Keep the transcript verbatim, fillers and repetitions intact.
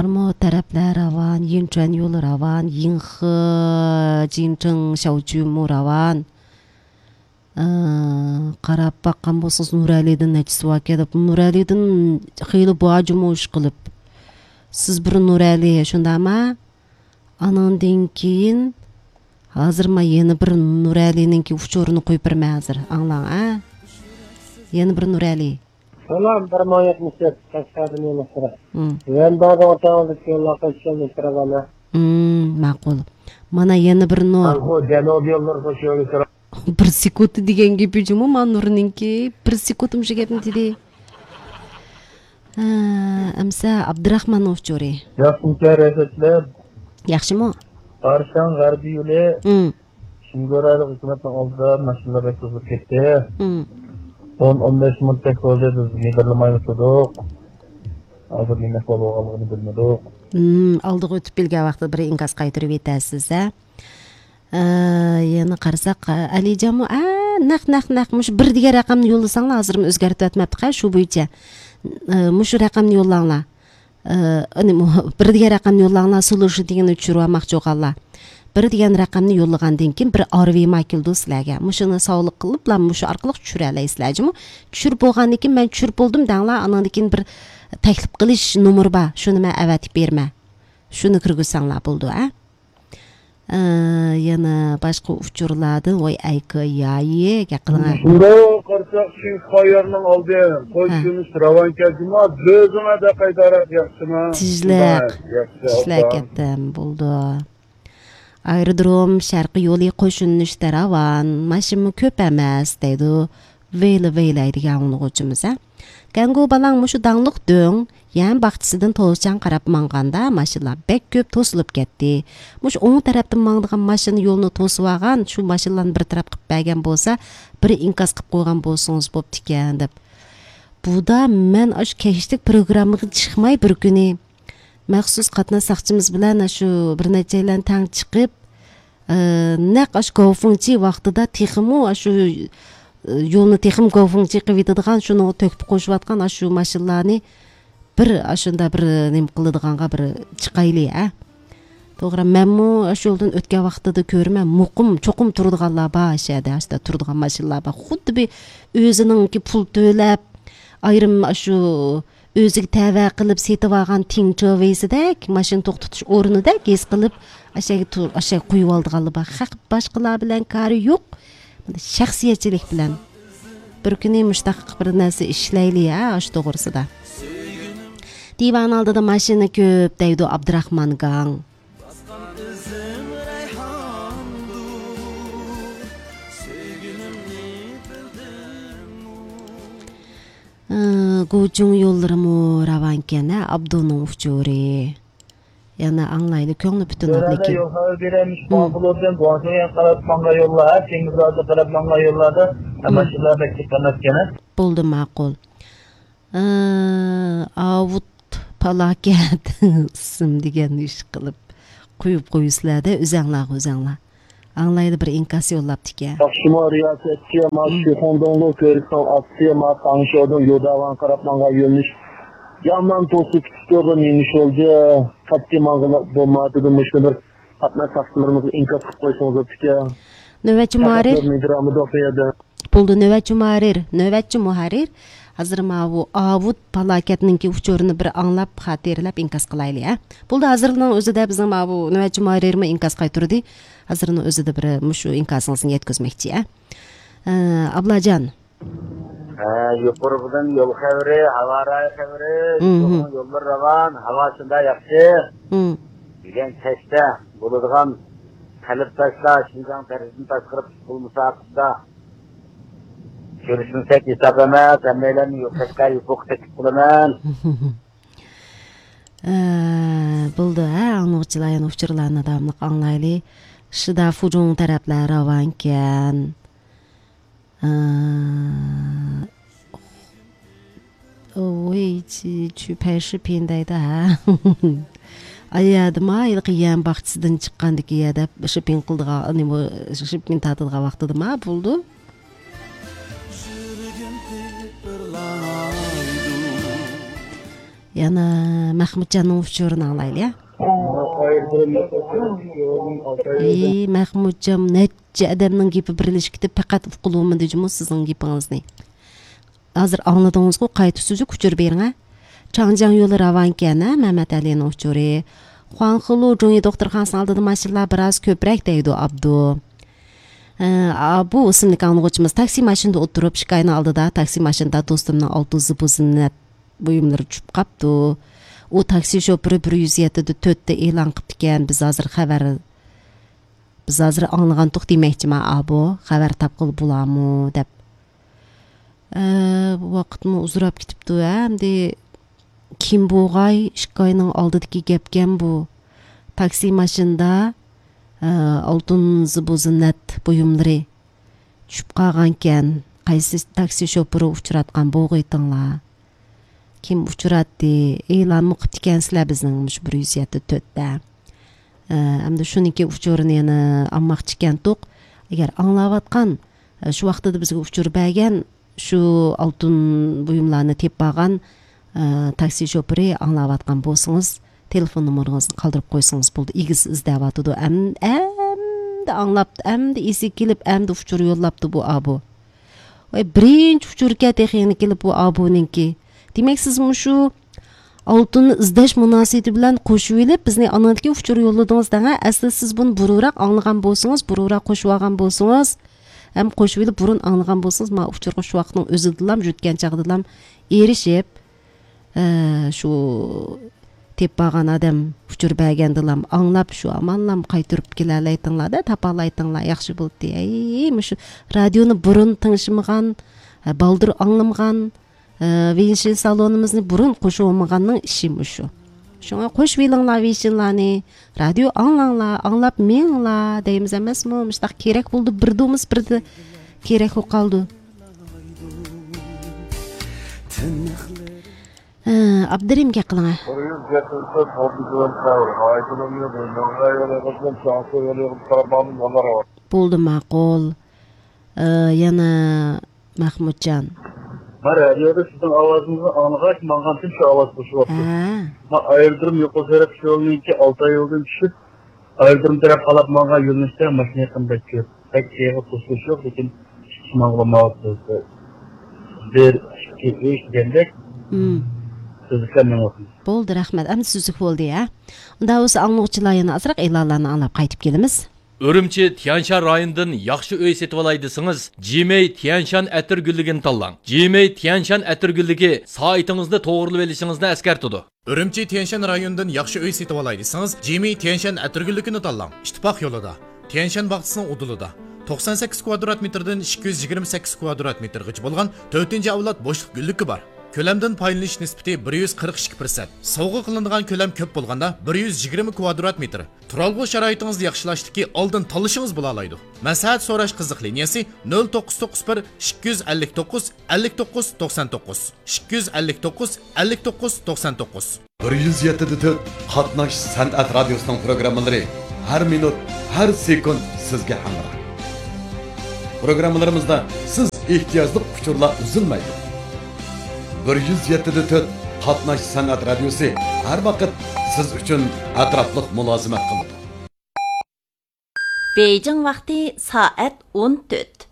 بارمۇ تەرەپلەر راۋان، يىنچۈەن يولى راۋان، يىڭخې، جىنچىڭ، شياۋچۈنمۇ راۋان. ئى، قاراپ باققان بولسىڭىز، نۇرئەلىدىن نەچچىسى باركەن دەپ، نۇرئەلىدىن خېلى بار جۇمۇ ئىشقىلىپ. سىز بىر نۇرئەلى، شۇنداقما؟ ئانىڭدىن كېيىن، ھازىر مەن يەنە بىر نۇرئەلىنىڭكى ئۇچۇرىنى قويۇپ بېرىمەن ھازىر. ئاڭلاڭ، ئە؟ يەنە بىر نۇرئەلى. سالام، بىر مىڭ يەتمىش تۆت، قەشقەردىن يوللاشتۇرا. مم. ۋەن باغدا ئوتاڭدىكى يوللار قوشۇشۇلمىشتۇرا بەنە. مم، ماقۇل. مانا يەنە بىر نۇر. ئاخۇ جەنۇبىي يوللار قوشۇلمىشتۇرا. بىر سېكۇنت دېگەن گېپى جۇمۇ، ما نۇرنىڭكى. بىر سېكۇنت مۇشۇ گەپنى دېدى. ھە، ئەمسە ئابدۇراخماننىڭ ئۇچۇرى. ياخشىمۇ، رەھمەتلەر. ياخشىمۇ؟ ئارشاڭ غەربىي يولى. مم. شىنگورايلىق ھۆكۈمەتنىڭ ئالدىدا ماشىنىلار بەك توزۇپ كەتتى. مم. ئون، ئون بەش مىنۇتتەك بولدى، بىز مىدىرلىمايلا تۇردۇق. ھازىر نېمە ئەھۋال بولغانلىقىنى بىلمىدۇق. مم، ئالدىغا ئۆتۈپ كەلگەن ۋاقتىدا بىر ئىنكاس قايتۇرۇۋېتەرسىز، ھە؟ ئە، يەنە قارىساق، ئە، ئەلىجانمۇ، ئە، نەق، نەق، نەق، مۇشۇ بىر دېگەن رەقەمنى يوللىساڭلار، ھازىرمۇ ئۆزگەرتىۋەتمەپتىقە، شۇ بويىچە. ئە، مۇشۇ رەقەمنى يوللاڭلار. ئە، ئەنە مۇ-، بىر دېگەن رەقەمنى يوللاڭلار، سولۇشى دېگەننى چۈشۈرۈۋالماقچى بولغانلار. بىر دېگەن رەقەمنى يوللىغاندىن كېيىن بىر ئارۋېما كېلىدۇ سىلەرگە. مۇشۇنى ساۋلىق قىلىپلا مۇشۇ ئارقىلىق چۈشۈرەلەيسىلەر جۇمۇ. چۈشۈرۈپ بولغاندىن كېيىن، مەن چۈشۈرۈپ بولدۇم دەڭلار، ئانىڭدىن كېيىن بىر تەكلىپ قىلىش نومۇرى بار. شۇنى مەن ئەۋەتىپ بېرىمەن. شۇنى كىرگۈزسەڭلار بولىدۇ، ھە؟ ئە، يەنە باشقا ئۇچۇرلاردىن، ۋاي، ئەيكى يايى، گەپ قىلىڭە. شۇنداق قارىساق، شىنخۇا يولىنىڭ ئالدى، ھە. قوشۇنۇش راۋان كەلدىمۇ، بۆزۈڭە دەقەيدارەك ياخشىما؟ تىزلىق. شۇنداق، ياخشى، تىزلىك ئوبدان. كەتتىم، بولدى. ئايرودروم شەرقىي يولى قوشۇنۇشتا راۋان، ماشىنىمۇ كۆپ ئەمەس، دەيدۇ. ۋەيلە ۋەيلەيدىگەن ئاڭلىغۇچىمىز، ھە. گەڭگۇ بالاڭ مۇشۇ داڭلىق دۆڭ يەم باغچىسىدىن توزچان قاراپ ماڭغاندا ماشىنىلار بەك كۆپ توسۇلۇپ كەتتى. مۇشۇ ئوڭ تەرەپتىن ماڭىدىغان ماشىنا يولنى توسۇۋالغان، شۇ ماشىنىلارنى بىر تەرەپ قىلىپ بەرگەن بولسا، بىر ئىنكاس قىلىپ قويغان بولسىڭىز بوپتىكەن، دەپ. بۇدا مەن ئاشۇ كەچلىك پروگراممىغا چىقماي بىر كۈنى مەخسۇس قاتناش ساقچىمىز بىلەن شۇ بىر نەچچەيلەن تەڭ چىقىپ، ئى، نەق ئاشۇ گاۋفېڭچى ۋاقتىدا تېخىمۇ ئاشۇ، ئى، يولنى تېخىمۇ گاۋفېڭچى قىلىۋېتىدىغان، شۇنىڭغا تۆھپە قوشۇۋاتقان ئاشۇ ماشىنىلارنى بىر ئاشۇنداق بىر نېمە قىلىدىغانغا بىر چىقايلى، ھە. توغرا، مەنمۇ ئاشۇ يولدىن ئۆتكەن ۋاقتىدا كۆرىمەن، مۇقىم، چوقۇم تۇرىدىغانلار بار، ئاشۇ يەردە، ئاشۇنداق تۇرىدىغان ماشىنىلار بار. خۇددى بىر ئۆزىنىڭكى پۇل تۆلەپ، ئايرىم ئاشۇ ئۆزىگە تەۋە قىلىپ سېتىۋالغان تىڭچېۋېيسىدەك، ماشىنا توختىتىش ئورنىدەك ھېس قىلىپ، ئاشەگە تۇر-، ئاشەگە قويۇۋالىدىغانلار بار. خەق باشقىلار بىلەن كارى يوق. شەخسىيەتچىلىك بىلەن. بىر كۈنى مۇشتاق بىر نەرسە ئىشلەيلى، ھە، ئاشۇ توغرىسىدا. دىۋان ئالدىدا ماشىنا كۆپ، دەيدۇ ئابدۇراخمان گاڭ. ئى، گۇچۇڭ يوللىرىمۇ راۋانكەن، ھە، ئابدۇنىڭ ئۇچۇرى. يەنە ئاڭلايلى، كۆڭلى پۈتۈن ئابلىكىم. يول خەۋىرى بېرەمىش، گۇاڭخېلودىن گۇاڭشېڭغا قاراپ ماڭغان يوللار، ھە، تېڭىزلارغا قاراپ ماڭغان يوللاردا، ھە، ماشىنىلار بەك كۆپ ئەمەسكەن، ھە. بولدى، ماقۇل. ئى، ئاۋۇت پالاكەت ئىسىم دېگەن ئىش قىلىپ قويۇپ قويىسىلەر-دە، ئۆزەڭلارغا ئۆزەڭلار. ئاڭلايلى، بىر ئىنكاس يوللاپتىكەن. ياخشىمۇ رىياسەتچى، ما شىخۇڭدۇڭلۇ كۆۋرۈكنىڭ ئاستى، ما تاڭشياۋدىن يوداۋانغا قاراپ ماڭغان يۆنىلىش يامان توسۇپ كېتىپتۇ، نېمە ئىش بولدى؟ قەتئىي ماڭغىلى بولمايۋاتىدۇ، مۇشۇنى بىر قاتناش ساقچىلىرىمىزغا ئىنكاس قىلىپ قويسىڭىز بوپتىكەن. نۆۋەتچى مۇھەررىر. بولدى، نۆۋەتچى مۇھەررىر، نۆۋەتچى مۇھەررىر. ھازىر ماۋۇ ئاۋۇت پالاكەتنىڭكى ئۇچۇرىنى بىر ئاڭلاپ، خاتىرىلەپ ئىنكاس قىلايلى، ھە. بولدى، ھازىرنىڭ ئۆزىدە بىزنىڭ ماۋۇ نۆۋەتچى مۇھەررىرمۇ ئىنكاس قايتۇردى. ھازىرنىڭ ئۆزىدە بىر مۇشۇ ئىنكاسىڭىزنى يەتكۈزمەكچى، ھە. ئە، ئابلاجان. ھە، يۇقىرىقىدىن يول خەۋىرى، ھاۋا رايى خەۋىرى، مم. يوللار راۋان، ھاۋا شۇنداق ياخشى. مم. بۈگۈن كەچتە بولىدىغان قەلبداشلار، شىنجاڭ دەرىجىدىن تاشقىرى پۇتبول مۇسابىقىسىدا كۆرۈشمىسەك ھېساب ئەمەس، ھەممەيلەننى يۇقىرىققا يوپۇرغا تەكلىپ قىلىمەن. ئە، بولدى، ھە، ئاڭلىغۇچىلار يەنە ئۇچۇرلارنى داۋاملىق ئاڭلايلى. شىدا فۇجۇڭ تەرەپلەر راۋانكەن. ئە، ۋېي چى چۈ پەي شى پىن دەيدۇ، ھە. ئايەدىما، ھېلىقى يەم باغچىسىدىن چىققاندىكى يەردە شى پىن قىلىدىغان، نېمە، شى پىن تارتىدىغان ۋاقتىدىما بولدى. يەنە مەخمۇتجاننىڭ ئۇچۇرىنى ئاڭلايلى، يا. ئى، مەخمۇتجان، نەچچە ئادەمنىڭ گېپى بىرلىشىپ كېتىپ، پەقەت ئۇقۇلۇۋالمىدى جۇمۇ سىزنىڭ گېپىڭىزنى. ھازىر ئاڭلىدىڭىزغۇ، قايتا سۈزۈك ئۇچۇر بېرىڭ، ھە. چاڭجياڭ يولى راۋانكەن، ھە، مەمەت ئەلىنىڭ ئۇچۇرى. خۇاڭخېلۇ جۇڭيى دوختۇرخانىسىنىڭ ئالدىدا ماشىنىلار بىراز كۆپرەك دەيدۇ ئابدۇ. ئە، ئا، بۇ ئىسىملىك ئاڭلىغۇچىمىز تاكسى ماشىنىدا ئولتۇرۇپ، ئىككى ئاينىڭ ئالدىدا تاكسى ماشىنىدا دوستۇمنىڭ ئالتۇن زىبۇ زىننەت بۇيۇملىرى چۈشۈپ قاپتۇ. ئۇ تاكسى شوپۇرى بىر يۈز يەتتىدە تۆتتە ئېلان قىپتىكەن، بىز ھازىر خەۋەر، بىز ھازىر ئاڭلىغانتۇق دېمەكچىما ئابۇ، خەۋەر تاپقىلى بولامۇ دەپ. ئە، بۇ ۋاقىتمۇ ئۇزىراپ كېتىپتۇ، ھە، ئەمدى كىم بوغاي، ئىككى ئاينىڭ ئالدىدىكى گەپكەن بۇ. تاكسى ماشىنىدا، ئە، ئالتۇن زىبۇ زىننەت بۇيۇملىرى چۈشۈپ قالغانكەن. قايسى تاكسى شوپۇرى ئۇچراتقان بوغۇيتىڭلار؟ كىم ئۇچراتتى؟ ئېلانمۇ قىپتىكەنسىلەر بىزنىڭ مۇشۇ بىر يۈز يەتتە تۆتتە. ئە، ئەمدى شۇنىڭكى ئۇچۇرىنى يەنە ئالماقچىكەنتۇق. ئەگەر ئاڭلاۋاتقان، ئە، شۇ ۋاقتىدا بىزگە ئۇچۇر بەرگەن، شۇ ئالتۇن بۇيۇملارنى تېپىپ ئالغان، ئە، تاكسى شوپۇرى ئاڭلاۋاتقان بولسىڭىز، تېلېفون نومۇرىڭىزنى قالدۇرۇپ قويسىڭىز بولدى. ئىگىسى ئىزدەۋاتىدۇ. ئەم-، ئەمدى ئاڭلاپتۇ، ئەمدى ئېسىگە كېلىپ، ئەمدى ئۇچۇر يوللاپتۇ بۇ ئابۇ. ۋاي، بىرىنچى ئۇچۇركەن تېخى يەنە كېلىپ بۇ ئابۇنىڭكى. دېمەك، سىز مۇشۇ ئالتۇننى ئىزدەش مۇناسىۋىتى بىلەن قوشۇۋېلىپ، بىزنى ئانىڭدىكى ئۇچۇر يوللىدىڭىز دەڭە. ئەسلى سىز بۇنى بۇرۇنراق ئاڭلىغان بولسىڭىز، بۇرۇنراق قوشۇۋالغان بولسىڭىز، ھەم قوشۇۋېلىپ بۇرۇن ئاڭلىغان بولسىڭىز، ما ئۇچۇرغا شۇ ۋاقىتنىڭ ئۆزىدىلام، يۆتكەن چاغدىلام ئېرىشىپ، ئە، شۇ تېپىپ بارغان ئادەم ئۇچۇر بەرگەندىلام ئاڭلاپ، شۇ ئامانلام قايتۇرۇپ كېلەلەيتىڭلار-دە، تاپالايتىڭلار، ياخشى بولدى. ئەي، مۇشۇ رادىيونى بۇرۇن تىڭشىمىغان، ھە، بالدۇر ئاڭلىمىغان، ھە، ۋېنشىن سالونىمىزنى بۇرۇن قوشۇۋالمىغاننىڭ ئىشى مۇشۇ. شۇڭا قوشۇۋېلىڭلار ۋېنشىنلارنى، رادىيو ئاڭلاڭلار، ئاڭلاپ مېڭىڭلار دەيمىز ئەمەسمۇ؟ مۇشۇنداق كېرەك بولدى، بىردىمۇس بىردە كېرەك بولۇپ قالدى. ھە، ئابدۇرېھىم گەپ قىلىڭە. بىر يۈز يەتتە ئالتە كىلومېتىر ئايتۇلۇمنى بۇ مەڭغايولى قىزىم چاڭسۇ يولى قىزىم قارامانۇم ئالار. بولدى، ماقۇل. ئە، يەنە مەخمۇتجان. ما رادىيودا سىزنىڭ ئاۋازىڭىزنى ئاڭلىغاچ، ماڭغانتىم شۇ ئاۋاز قوشۇۋاپتۇ. ھە. ما ئايرودروم يوقىسى تەرەپ شۇ يولنىڭكى ئالتاي يولدىن چۈشۈپ، ئايرودروم تەرەپ قالاپ ماڭغان يۆنىلىشتە ماشىنا يېقىندا كۆپ. بەك يېغىر توسۇلۇش يوق، لېكىن ماڭغىلى ماۋۇ بىر، ئىككى، ئۈچ دېگەندەك. مم. سۈزۈكلەر مېڭىۋاتىمىز. بولدى، رەھمەت. ئەمدى سۈزۈك بولدى، ھە؟ ئۇنداق بولسا ئاڭلىغۇچىلار يەنە ئازراق ئېلانلارنى ئاڭلاپ قايتىپ كېلىمىز. ئۈرۈمچى تيەنشان رايونىدىن ياخشى ئۆي سېتىۋالاي دېسىڭىز، جىمەي تيەنشان ئەتىرگۈللۈكىنى تاللاڭ. جىمەي تيەنشان ئەتىرگۈللۈكى سائىتىڭىزنى توغرىلىۋېلىشىڭىزنى ئەسكەرتىدۇ. ئۈرۈمچى تيەنشان رايونىدىن ياخشى ئۆي سېتىۋالاي دېسىڭىز، جىمى تيەنشان ئەتىرگۈللۈكىنى تاللاڭ. ئىتتىپاق يولىدا، تيەنشان باغچىسىنىڭ ئۇدۇلىدا، توقسان سەككىز كۋادرات مېتىردىن ئىككى يۈز يىگىرمە سەككىز كۋادرات مېتىرغىچە بولغان تۆتىنچى ئەۋلاد بوشلۇق گۈللۈكى بار. كۆلەمدىن پايدىلىنىش نىسبىتى بىر يۈز قىرىق ئىككى پىرسەنت. سوۋغا قىلىنىدىغان كۆلەم كۆپ بولغاندا، بىر يۈز يىگىرمە كۋادرات مېتىر. تۇرالغۇ شارائىتىڭىزنى ياخشىلاشتىكى ئالدىن تاللىشىڭىز بولالايدۇ. مەسلىھەت سوراش قىزىق لىنىيەسى: نۆل توققۇز توققۇز بىر، ئىككى يۈز ئەللىك توققۇز، ئەللىك توققۇز توقسان توققۇز، ئىككى يۈز ئەللىك توققۇز، ئەللىك توققۇز توقسان توققۇز. بىر يۈز يەتتە دە تۆت قاتناش سەنئەت رادىيوسىنىڭ پروگراممىلىرى ھەر مىنۇت، ھەر سېكۇنت سىزگە ھەمراھ. پروگراممىلىرىمىزدا سىز ئېھتىياجلىق ئۇچۇرلار ئۈزۈلمەيدۇ. بىر يۈز يەتتە دە تۆت قاتناش سەنئەت رادىيوسى ھەر ۋاقىت سىز ئۈچۈن ئەتراپلىق مۇلازىمەت قىلىدۇ. بېيجىڭ ۋاقتى سائەت ئون تۆت.